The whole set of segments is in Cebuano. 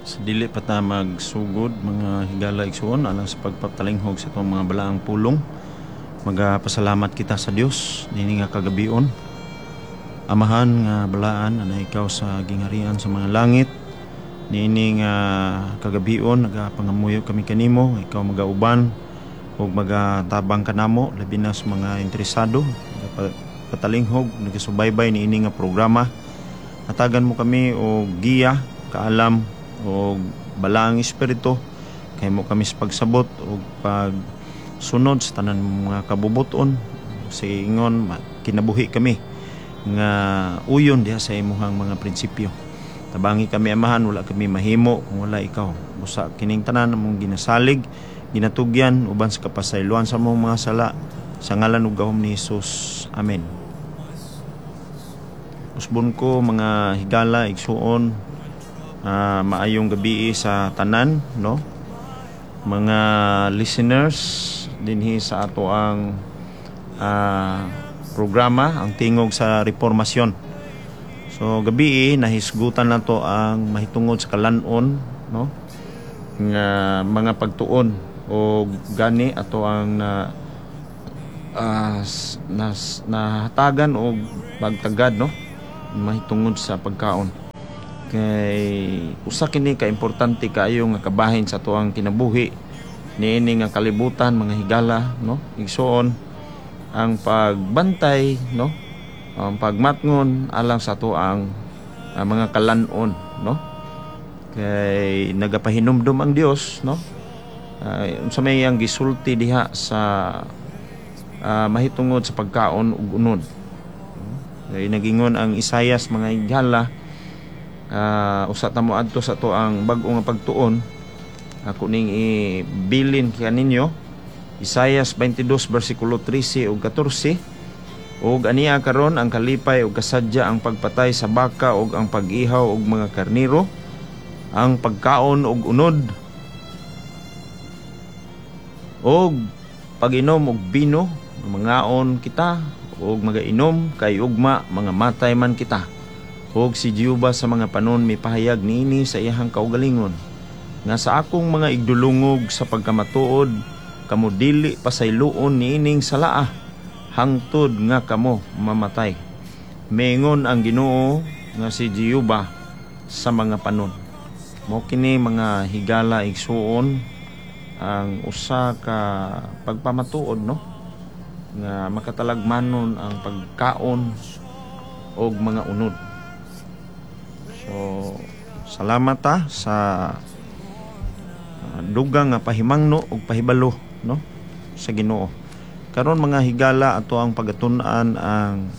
Sa dili pa ta magsugod, mga higala, igsuon, alang sa pagpapalinghog sa atong mga balaang pulong, magapasalamat kita sa Dios niini nga kagabion. Amahan nga balaan, anaa ikaw sa gingharian sa mga langit, niini nga kagabion nagapangamuyo kami kanimo, ikaw magauban ug magatabang kanamo, labi na sa mga interesado patalinghog, nagasubaybay niini nga programa. Hatagan mo kami og giya, kaalam og Balaang Espiritu kay mo kami sa pagsabot og pagsunod sa tanan mga kabubuton. Sa ingon kinabuhi kami nga uyon diha sa imuhang mga prinsipyo. Tabangi kami, Amahan. Wala kami mahimo kung wala ikaw. Busa kining tanan among ginasalig, ginatugyan uban sa kapasayloan sa among mga sala, sa ngalan ug gahom ni Hesus. Amen. Usbon ko, mga higala, igsuon, maayong gabi sa tanan, no, mga listeners dinhi sa ato ang programa, Ang Tingog sa Reformasyon. So gabi nahisgutan nato ang mahitungod sa kalanon, no, nga mga pagtuon, o gani ato ang na nahatagan og pagtagad, no, mahitungod sa pagkaon, kay usa kini ka importante kaayo nga kabahin sa atuang kinabuhi niini nga kalibutan, mga higala, no, igsuon, ang pagbantay, no, ang pagmatngon alang sa atuang mga kalanon, no, kay nagapahinumdum ang Dios, no, unsa may ang gisulti diha sa mahitungod sa pagkaon ug unod. Kay nagingon ang Isayas, mga higala, usa ta mo adto sa ato ang bag-o nga pagtuon. Ako ning ibilin kaninyo Isayas 22 bersikulo 13 ug 14: "Ug ania karon ang kalipay ug kasadya ang pagpatay sa baka ug ang pag-ihaw og mga karniro, ang pagkaon og unod og pag-inom og bino. Mangaon kita ug magainom, kay ugma mga matay man kita." Ug si Jehova sa mga panon mipahayag niini sa iyahang kaugalingon nga sa akong mga igdulungog sa pagkamatuod, kamo dili pasayloon niining salaa hangtod nga kamo mamatay. Mingon ang Ginoo nga si Jehova sa mga panon." Mao kini, mga higala, igsuon, ang usa ka pagpamatuod, no, nga makatalagmanon ang pagkaon og mga unod. So salamat ta sa dugang nga pahimangno ug pahibalo, no, sa Ginoo. Karon, mga higala, ato ang pagatun-an ang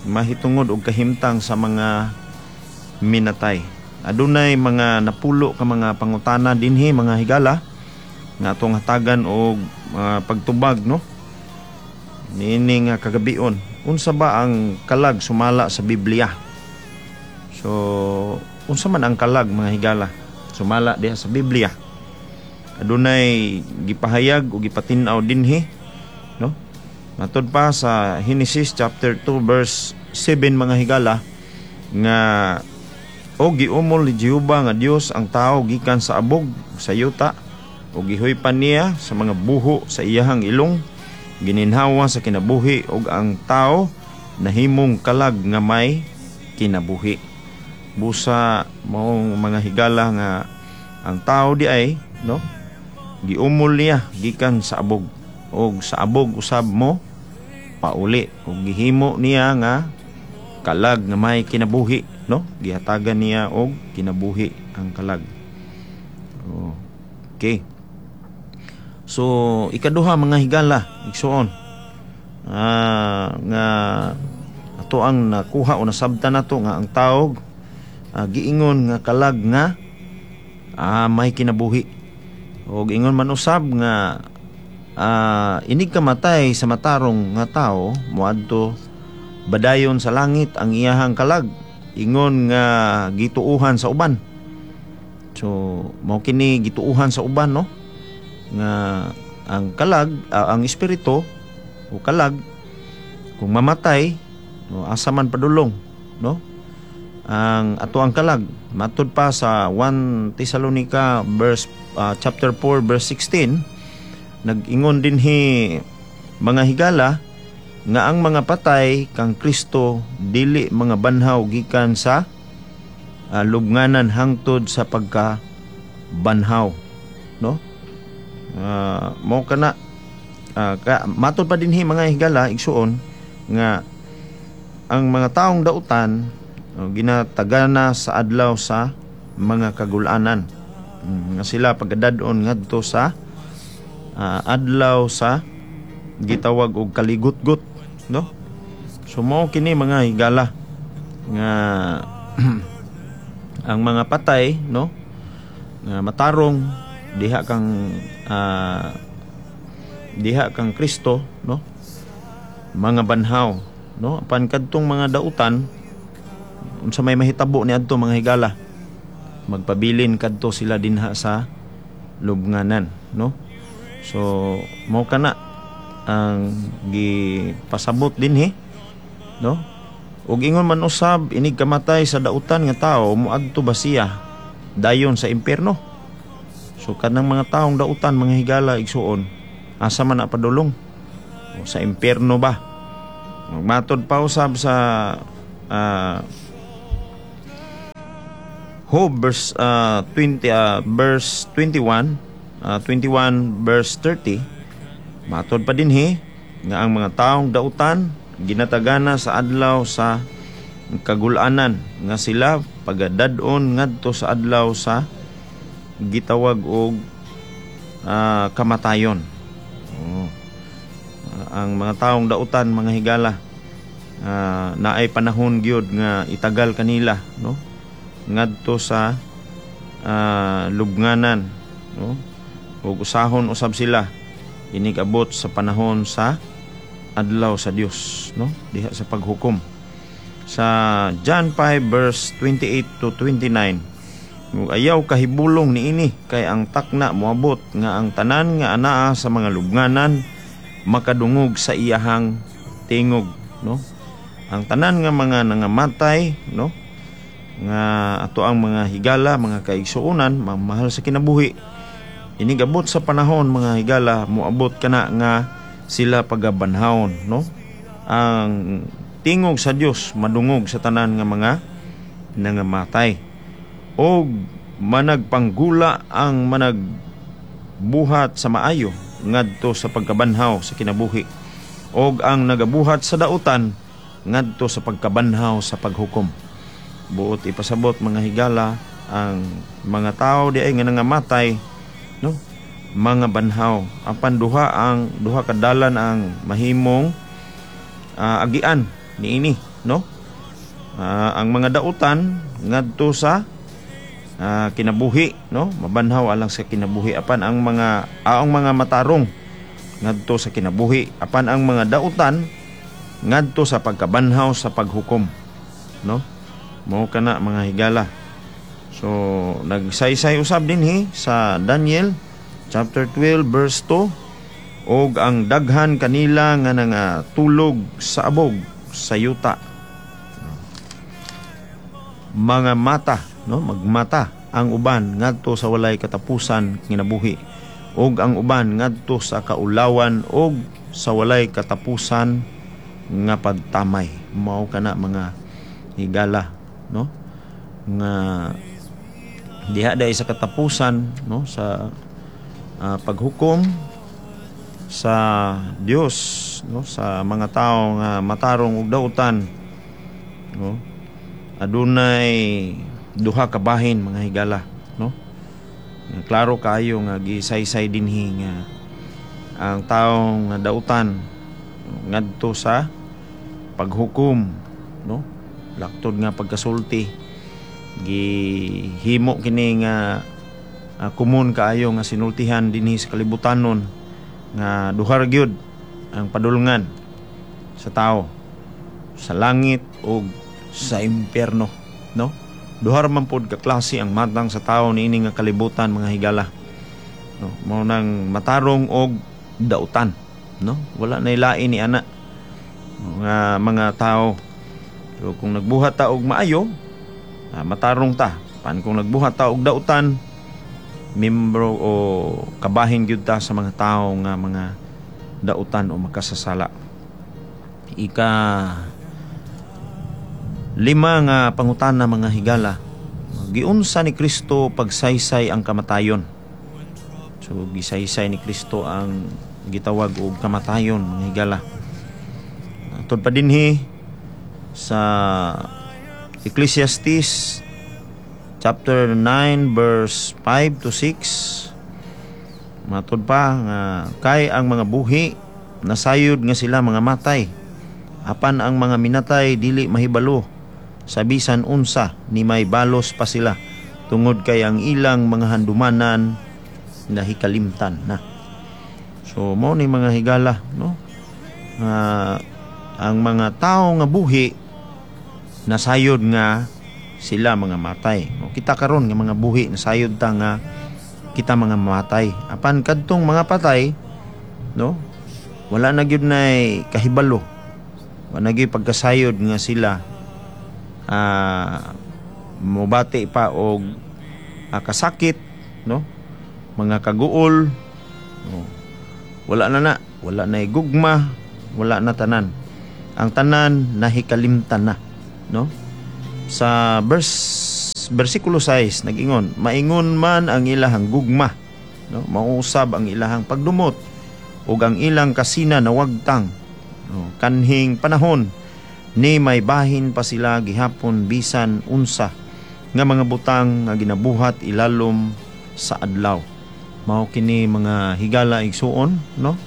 mahitungod og kahimtang sa mga minatay. Adunay mga napulo ka mga pangutana dinhi, mga higala, nga atong hatagan og pagtubag, no, niini nga kagabion. Unsa ba ang kalag sumala sa Biblia? So unsa man ang kalag, mga higala, sumala diha sa Biblia? Adunay gipahayag o gipatin-aw dinhi, no, matud pa sa Genesis chapter 2 verse 7, mga higala, nga "O giumol ni Jehova nga Dios ang tao gikan sa abog sa yuta o gihuypan niya sa mga buho sa iyahang ilong gininhawa sa kinabuhi, ug ang tao nahimong kalag nga may kinabuhi." Busa maong, mga higala, nga ang tao di ay, no, giumol niya gikan sa abog og sa abog usab mo pauli, ug gihimo niya nga kalag nga may kinabuhi, no, gihatagan niya og kinabuhi ang kalag. Okay. So ikaduha, mga higala, igsuon, nga ato ang nakuha o nasabtan nato nga ang tawg giingon nga kalag nga may kinabuhi, og ingon man usab nga inig kamatay sa matarong nga tao, moadto badayon sa langit ang iyahang kalag, ingon nga gituuhan sa uban. So mao kini gituuhan sa uban, no, nga ang kalag, ang espiritu o kalag, kung mamatay, no, asa man padulong, no? Ang ato ang kalag, matud pa sa 1 Thessalonica verse chapter 4 verse 16, nag-ingon dinhi, mga higala, nga ang mga patay kang Kristo dili mga banhaw gikan sa lubnganan hangtod sa pagka banhaw, no? Mao kana matud pa dinhi, mga higala, igsuon, nga ang mga taong dautan ginatagana sa adlaw sa mga kagulanan, nga sila pagadad-on ngadto sa adlaw sa gitawag og kaligutgot, no? So mao kini, mga higala, nga ang mga patay, no, nga matarong diha kang Kristo, no, mga banhaw, no? Apan kadtong mga dautan, unsa may mahitabo ni adto, mga higala? Magpabilin kadto sila dinha sa lubnganan, no? So mao kana ang gipasabot dinhi, no? Ug ingon man usab, inig kamatay sa dautan nga tawo, moadto ba siya dayon sa impierno? So kanang mga taong dautan, mga higala, igsuon, asa man na padulong? O sa impierno ba? Matod pa usab sa Job verse 20 verse 21, 21 verse 30, matod pa dinhi nga ang mga taong dautan ginatagana sa adlaw sa kagulanan, nga sila pagadad-on ngadto sa adlaw sa gitawag og kamatayon. Oh. Ang mga taong dautan, mga higala, naay panahon gyud nga itagal kanila, no, ngadto sa lubnganan, no? Ug usahon usab sila inig abot sa panahon sa adlaw sa Dios, no, diha sa paghukom. Sa John 5 verse 28 to 29, ug ayaw kahibulong niini, kay ang takna moabot nga ang tanan nga anaa sa mga lubnganan makadungog sa iyahang tingog, no? Ang tanan nga mga nangamatay, no, nga ato ang mga higala, mga kaigsuonan, mamahal sa kinabuhi, inigabot sa panahon, mga higala, moabot kana nga sila pagabanhawon, no? Ang tingog sa Dios madungog sa tanan nga mga nangamatay. Og managpanggula ang managbuhat sa maayo ngadto sa pagkabanhaw sa kinabuhi, og ang nagabuhat sa dautan ngadto sa pagkabanhaw sa paghukom. Buot ipasabot, mga higala, ang mga tao di ay nga nangamatay, no, mga banhaw, apan duha ka dalan ang mahimong agian niini, no? Ang mga dautan ngadto sa kinabuhi, no, mabanhaw alang sa kinabuhi, apan ang mga matarong ngadto sa kinabuhi, apan ang mga dautan ngadto sa pagkabanhaw sa paghukom, no? Mao kana, mga higala. So nagsaysay usab dinhi sa Daniel chapter 12 verse 2, og ang daghan kanila nga nangatulog sa abog sa yuta, mga mata, no, magmata ang uban ngadto sa walay katapusan kinabuhi, ug ang uban ngadto sa kaulawan ug sa walay katapusan nga pagtamay. Mao kana, mga higala, no, nga diha dai sa katapusan, no, sa paghukom sa Dios, no, sa mga tao nga matarong ug dautan, no, adunay duha ka bahin, mga higala, no? Klaro kaayo nga gisaysay dinhi nga ang taong nga dautan ngadto sa paghukom, no? Laktod nga pagkasulti, gihimo kini nga komon kaayo nga sinultihan dinhi sa kalibutanon nga duha ra gyud ang padulngan sa tao, sa langit o sa impyerno, no? Duha ra man pod ka klase ang matang sa tao niini nga kalibutan, mga higala, no? Mao nang matarong og dautan, no? Wala na lain ni ana nga mga tao. So kung nagbuhat ta og maayo Matarong ta. Pan kung nagbuhat ta og dautan, membro o kabahin gyud ta sa mga tawo nga mga dautan o makasasala. Ika lima nga pangutana, mga higala: giunsa ni Kristo pagsaysay ang kamatayon? So gisaysay ni Kristo ang gitawag og kamatayon, mga higala. Tud pa dinhi sa Ecclesiastes chapter 9 verse 5 to 6, matud pa nga kay ang mga buhi nasayod nga sila mga matay, apan ang mga minatay dili mahibalo sa bisan unsa, ni may balos pa sila tungod kay ang ilang mga handumanan nahikalimtan na. So mao ni, mga higala, no, nga ang mga tao nga buhi nasayod nga sila mga matay. O kita karon nga mga buhi, nasayod ta nga kita mga matay. Apan kadtong mga patay, no, wala na gyud nay kahibalo. Wala na gyud pagkasayod nga sila mobati pa og kasakit, no? Mga kaguol, no? Wala na na, wala na gugma, wala na tanan. Ang tanan nahikalimtan na, no? Sa versikulo 6 nagingon, maingon man ang ilahang gugma, no? Mausab ang ilahang pagdumot ug ang ilang kasina nawagtang, no? Kanhing panahon ni may bahin pa sila gihapon bisan unsa nga mga butang nga ginabuhat ilalom sa adlaw. Mao kini, mga higala, igsuon, no,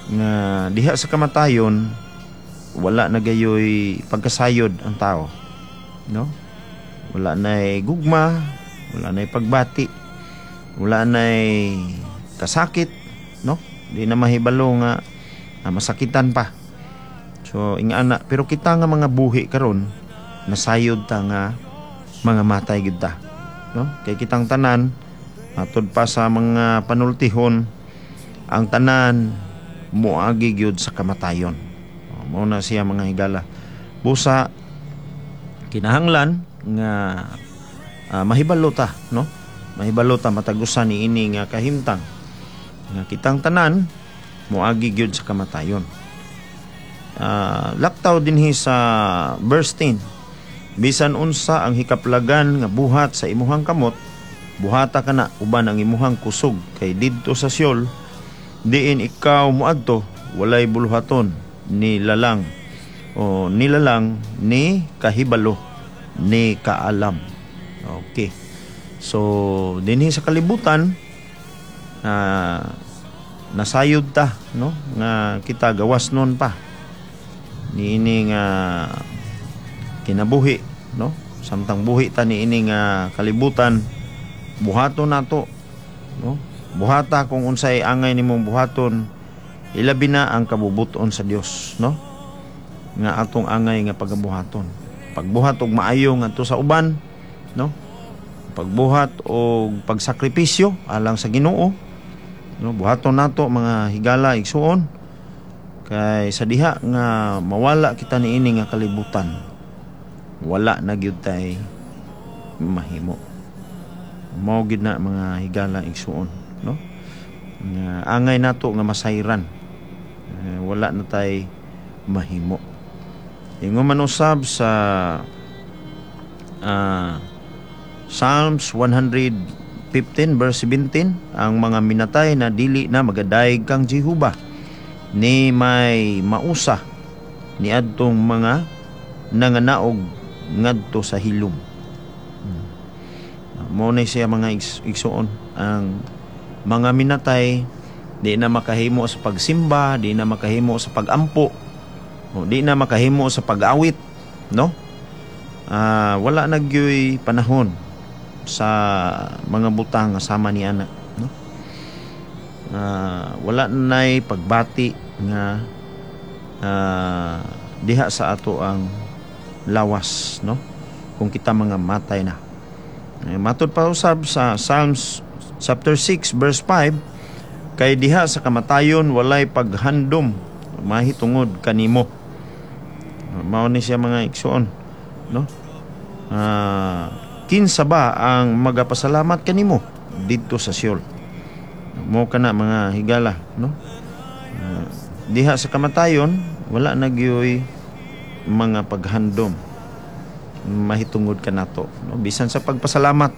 nga diha sa kamatayon wala na gayoy pagkasayod ang tao, no? Wala na gugma, wala na pagbati, wala na kasakit, no? Di na mahibalo nga masakitan pa. So ingana, pero kita nga mga buhi karon nasayod ta nga mga matay gid ta, no? Kay kitang tanan, matud pa sa mga panultihon, ang tanan moagi gyud sa kamatayon. Mao na siya, mga higala. Busa kinahanglan nga mahibalo ta, no? Mahibalo ta matag usa ni ini nga kahimtang nga kitang tanan moagi gyud sa kamatayon. Laktaw dinhi sa verse 10: "Bisan unsa ang hikaplagan nga buhat sa imuhang kamot, buhata kana uban ang imuhang kusog, kay didto sa Sheol, diin ikaw moadto, walay buluhaton ni lalang o nilalang ni kahibalo ni kaalam." Okay. So dinhi sa kalibutan, nasayod ta, no, nga kita gawas nun pa niini nga kinabuhi, no? Samtang buhi ta niini nga kalibutan, buhaton nato, no? Buhata kung unsay angay nimong buhaton, ilabi na ang kabubuton sa Dios, no, nga atong angay nga pagabuhaton. Pagbuhat og maayo ngadto sa uban, no? Pagbuhat og pagsakripisyo alang sa Ginoo, no? Buhaton nato, mga higala, igsuon, kay sa diha nga mawala kita niini nga kalibutan, wala na gyud tay mahimo. Mao gyud na, mga higala, igsuon, no, nga angay nato nga masayran, wala na tay mahimo. Ingon man usab sa Psalms 115 verse 17, ang mga minatay na dili na magadayeg kang Jehova ni may mausa ni adtong mga nanganaog ngadto sa hilom. Mao na siya, mga igsuon, ang mga minatay di na makahimo sa pagsimba, di na makahimo sa pagampo, o di na makahimo sa pag-awit, no? Wala na gyoy panahon sa mga butang nga sama ni ana, no? Wala nay pagbati nga diha sa ato ang lawas, no, kung kita mga matay na. Matud pa usab sa Psalms chapter 6 verse 5, kay diha sa kamatayon walay paghandom mahitungod kanimo. Mao ni siya, mga igsuon, no? Kinsa ba ang magapasalamat kanimo didto sa Sheol? Mo kana mga higala, no? Diha sa kamatayon wala na gyoy mga paghandom mahitungod kanato, no? Bisan sa pagpasalamat,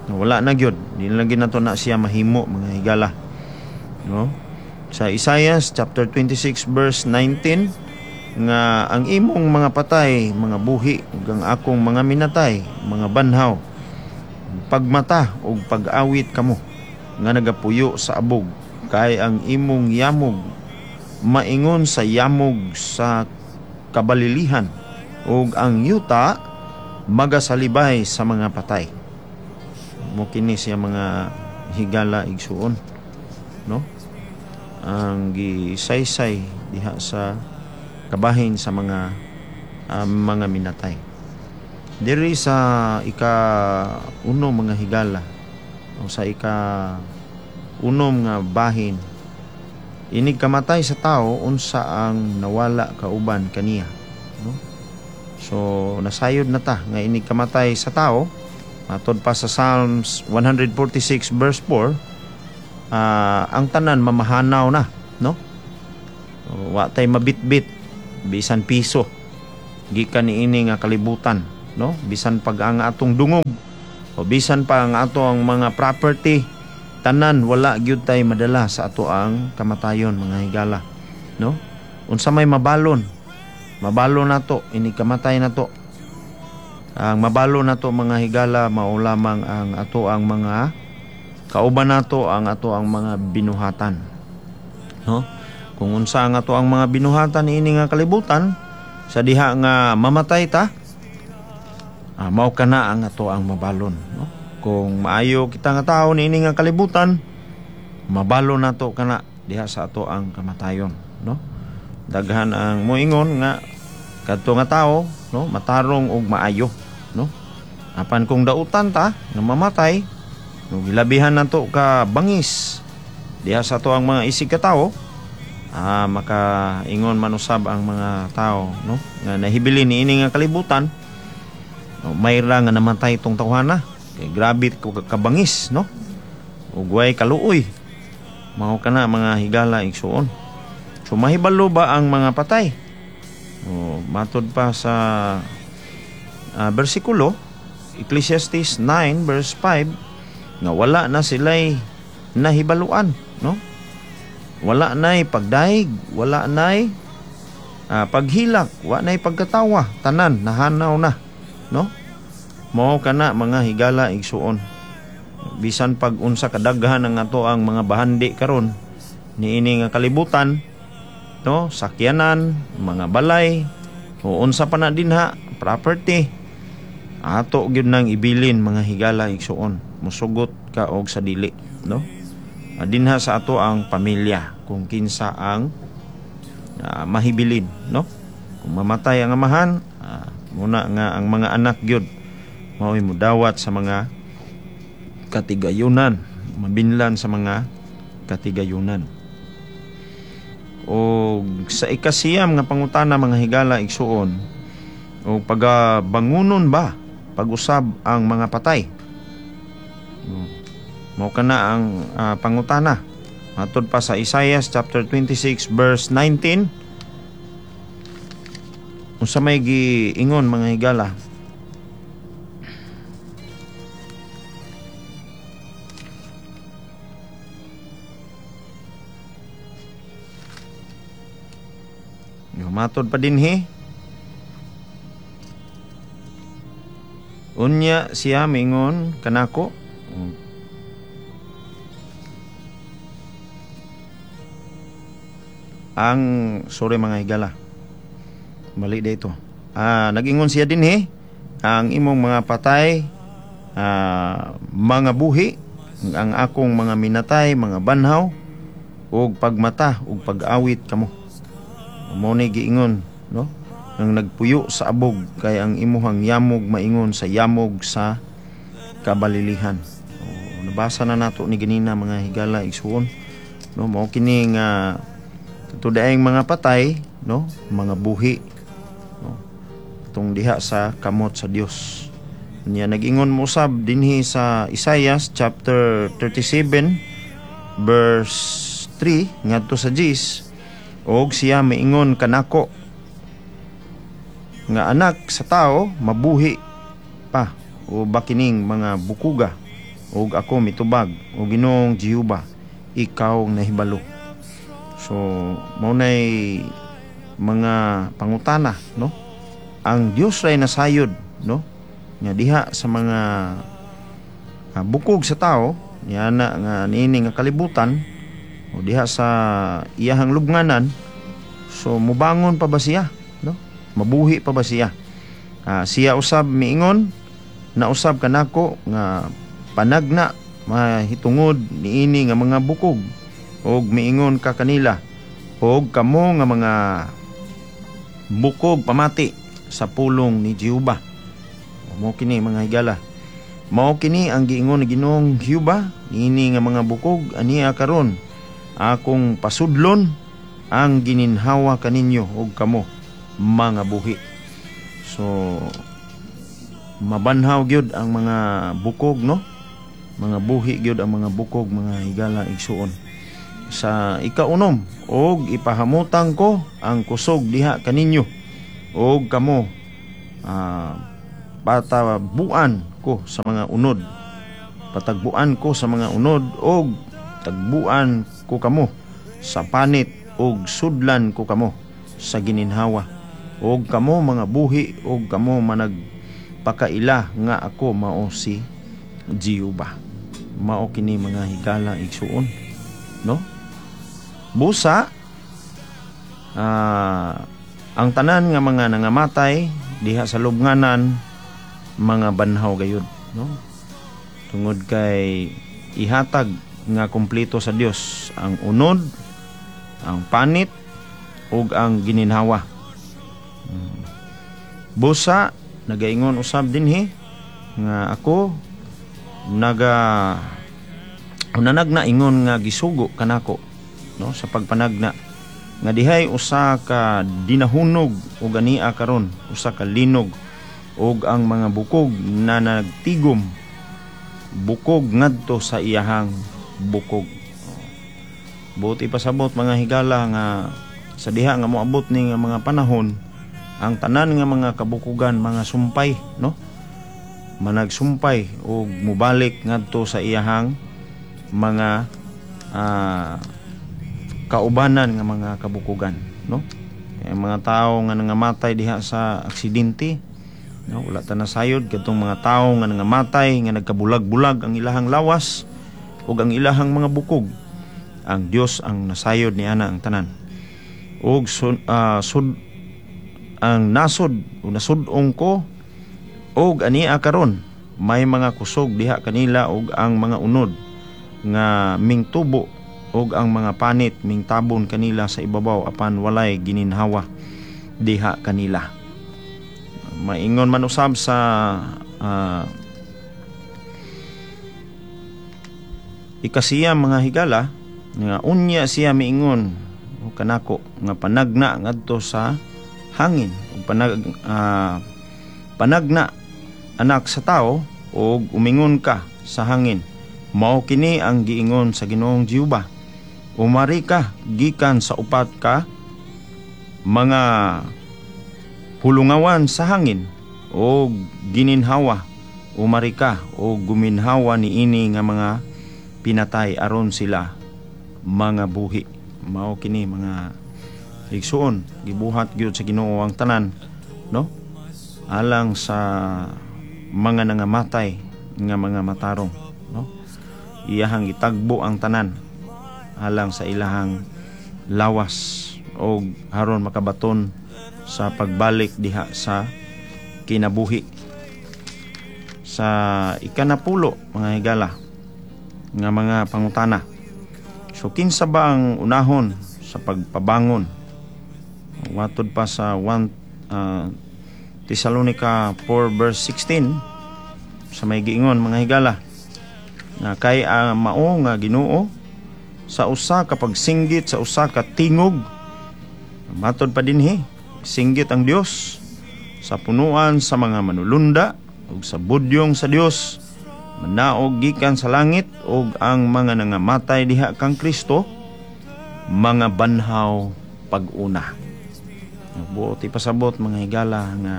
no, wala na gyud, di na gyud nato na siya mahimo mga higala, no? Sa Isaiah chapter 26 verse 19 nga ang imong mga patay mga buhi ug ang akong mga minatay mga banhaw, pagmata ug pag-awit kamo nga nagapuyo sa abog, kay ang imong yamog maingon sa yamog sa kabalilihan ug ang yuta magasalibay sa mga patay. Mo kini siya mga higala igsuon, no? Ang gisaysay diha sa kabahin sa mga mga minatay. Diri sa ika-uno mga higala o sa ika-unom nga bahin, inig kamatay sa tao unsa ang nawala kauban kaniya, no? So nasayod na ta nga inig kamatay sa tao, matod pa sa Psalms 146 verse 4, ang tanan mamahanaw na, no? Wa tay mabitbit bisan piso gikan niini nga kalibutan, no? Bisan pag ang atong dungog o bisan pa ang ato ang mga property, tanan wala gyud tay madala sa ato ang kamatayon mga higala, no? Unsa may mabalon, mabalon nato ini kamatay nato. Ang mabalon nato mga higala mao lamang ang ato ang mga kauban nato, ang ato ang mga binuhatan, no? Kung unsa ang ato ang mga binuhatan niini nga kalibutan, sa diha nga mamatay ta, mao kana ang ato ang mabalon, no? Kung maayo kita nga tawo niini nga kalibutan, mabalon nato kana diha sa ato ang kamatayon, no? Daghan ang moingon nga kadto nga tawo, no, matarong og maayo, no? Apan kung dautan ta nga mamatay, no, gilabihan nato ka bangis diha sa ato ang mga isig ka tawo, makaingon manusab ang mga tao, no, nga nahibili niini nga kalibutan, no, mayra nga namatay tong tawhana. Kay grabe kabangis, no? Ug way kaluoy. Mao kana mga higala igsuon. So mahibalo ba ang mga patay? O, matod pa sa bersikulo Ecclesiastes 9 verse 5 nga wala na sila'y nahibaluan, no? Wala na'y pagdaig, wala na'y paghilak, wala na'y pagkatawa, tanan nahanaw na, no? Mao kana mga higala igsuon. Bisan pag unsa kadaghan ang ato ang mga bahandi karon niini nga kalibutan, no, sakyanan, mga balay, o unsa pa na dinha, property, ato gyud nang ibilin mga higala igsuon. Musugot ka og sa dili, no? Dinha sa ato ang pamilya kung kinsa ang mahibilin, no? Kung mamatay ang amahan, muna nga ang mga anak gyud mao'y mudawat sa mga katigayunan, mabinlan sa mga katigayunan. O sa ikasiyam nga pangutana mga higala igsuon, o pagabangunon ba pag-usab ang mga patay? Mao kana ang pangutana. Matod pa sa Isaiah chapter 26 verse 19, unsa may giingon mga higala? Matod pa dinhi, unya siya mingon kanako, ang sorry mga higala, mali dito. Nagingon siya dinhi, ang imong mga patay, mga buhi, ang akong mga minatay, mga banhaw, ug pagmata ug pag-awit kamo. Mao ni giingon, no? Ang nagpuyo sa abog kay ang imuhang yamog maingon sa yamog sa kabalilihan. O, nabasa na nato ni ganina mga higala igsuon, no? Mao kini nga tudaeng mga patay, no, mga buhi, no, tong diha sa kamot sa Dios. Nya nag-ingon mo usab dinhi sa Isaiah chapter 37 verse 3 ngadto sa 10, og siya miingon kanako nga, "Anak sa tao, mabuhi pa o ba kining mga bukuga?" Ug ako mitubag, "O Ginoong Jehova, ikaw ang nahibalo." So mao nay mga pangutana, no? Ang Dios ray nasayod, no, nga diha sa mga bukog sa tao niana nga niini nga kalibutan o diha sa iyahang lubnganan, so mubangon pa ba siya, no? Mabuhi pa ba siya? Siya usab miingon na usab kanako nga, "Panagna mahitungod niini nga mga bukog, og miingon ka kanila, og kamo nga mga bukog, pamati sa pulong ni Jehova." Mao kini, mga higala. Mao kini ang giingon ni Ginoong Jehova niini nga mga bukog: "Ania karon akong pasudlon ang gininhawa kaninyo ug kamo mga buhi." So mabanhaw gyud ang mga bukog, no? Mga buhi gyud ang mga bukog, mga higala igsuon. Sa ikaunom, og ipahamutang ko ang kusog diha kaninyo og kamo patabuan ko sa mga unod, patagbuan ko sa mga unod, og tagbuan ko kamo sa panit, og sudlan ko kamo sa gininhawa, og kamo mga buhi, og kamo managpakaila nga ako mao si Jehova. Mao kini, mga higala igsuon, no? Busa ang tanan nga mga nangamatay diha sa lubnganan mga banhaw gayud, no? Tungod kay ihatag nga kumpleto sa Dios ang unod, ang panit ug ang gininhawa. Busa nagaingon usab dinhi nga ako naga unanagna ingon nga gisugo kanako, no, sa pagpanagna nga dihay usa ka dinahunog ug ania karon usa ka linog, ug ang mga bukog na nagtigom bukog ngadto sa iyahang bukog. Buti pasabot, mga higala, nga sa diha nga moabot ni nga mga panahon, ang tanan nga mga kabukugan mga sumpay, no, managsumpay ug mobalik ngadto sa iyahang mga kaubanan nga mga kabukugan, no? Kaya mga tao nga nangamatay diha sa aksidente, no, wala ta nasayod kadtong mga tao nga nangamatay nga nagkabulag-bulag ang ilahang lawas ug ang ilahang mga bukog. Ang Dios ang nasayod ni ana ang tanan. Ug sud ang nasod o nasud-ong ko, og ania karon may mga kusog diha kanila, ug ang mga unod nga mingtubo ug ang mga panit mingtabon kanila sa ibabaw, apan walay gininhawa diha kanila. Maingon man usab sa ikasiya, mga higala, nga unya siya miingon o kanako nga, "Panagna ngadto sa hangin ug panagna, anak sa tao, ug umingon ka sa hangin: Mao kini ang giingon sa Ginoong Jehova: Umari ka gikan sa upat ka mga hulungawan sa hangin o gininhawa. Umari ka o guminhawa niini nga mga pinatay aron sila mga buhi." Mao kini, mga igsuon, gibuhat gyud sa Ginoo ang tanan, no, alang sa mga nangamatay nga mga matarong, no? Iyahang gitagbo ang tanan alang sa ilahang lawas og aron makabaton sa pagbalik diha sa kinabuhi. Sa ikanapulo, mga higala, nga mga pangutana, so kinsa ba ang unahon sa pagpabangon? Watod pa sa 1 Thessalonica 4 verse 16 sa may giingon, mga higala, nga kay ang mao nga Ginoo sa usa ka pagsinggit, sa usa ka tingog. Matod pa dinhi, singgit ang Dios sa punuan sa mga manulunda Ug sa budyong sa Dios manaog gikan sa langit, ug ang mga nangamatay diha kang Kristo mga banhaw pag-una. Buot ipasabot, mga higala, nga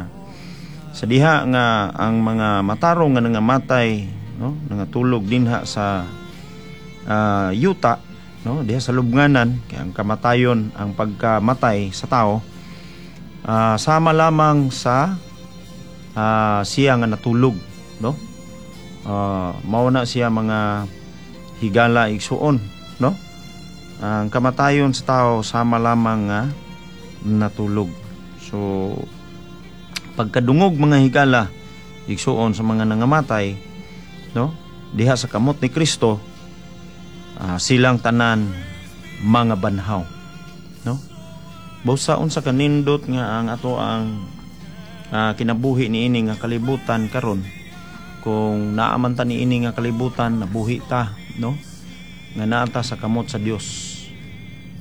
sa diha nga ang mga matarong nga nangamatay, no, nangatulog dinha sa yuta, no, diha sa lubnganan, kay ang kamatayon, ang pagkamatay sa tao, sama lamang sa siya nga natulog, no? Mao na siya, mga higala, igsuon, no? Ang kamatayon sa tao sama lamang nga natulog. So pagkadungog, mga higala, igsuon, sa mga nangamatay, no, diha sa kamot ni Kristo, silang tanan mga banhaw, no? Busa unsa kanindot nga ang ato ang kinabuhi niini nga kalibutan karon, kung naa man ta niini nga kalibutan, nabuhi ta, no, nga naa ta sa kamot sa Dios.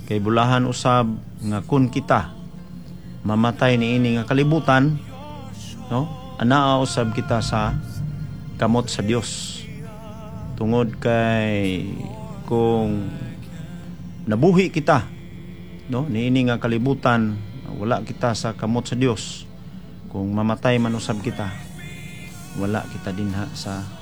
Kay bulahan usab nga kun kita mamatay niini nga kalibutan, no, anaa usab kita sa kamot sa Dios, tungod kay kung nabuhi kita, no, niini nga kalibutan, wala kita sa kamot sa Dios, kung mamatay man usab kita, wala kita dinha sa